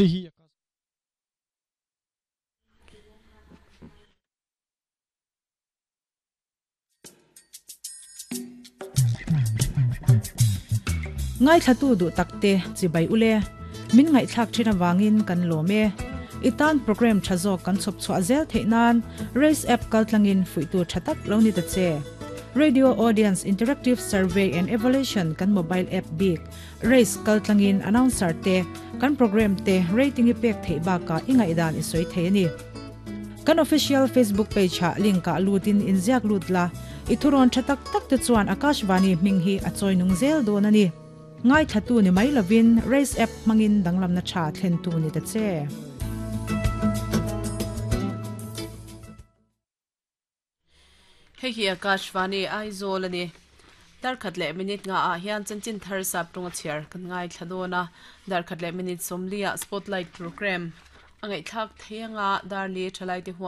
Hei hi Ngaithlatu duh takte chibai ule min ngaihthlak thin awangin kan lawm e. I tan program tha zawk kan chhawp chhuah zel theih nan Race app kaltlangin fuihtu tha tak lo ni ta che. Radio Audience Interactive Survey and Evaluation kan mobile app bik Race kaltlangin announcer te kan program te rating i pek theih bakah i ngaihdan i sawi thei a ni. Kan official Facebook page ah link ah lutin inziak lut la, i thurawn tha tak tak te chuan Akashvani hming hi a chawi nung zel dawn a ni. Ngaithlatu ni mai lovin Race app hmangin danglamna tha thlentu ni ta che. Hei hi Akashvani Aizawl a ni. Darkhat leh minute nga ah hian chanchin thar sap tawnga chhiar kan ngaithla dawn a. Darkhat leh minute 40 ah Spotlight program a ngaihthlak thei anga Darli Thalaite huan.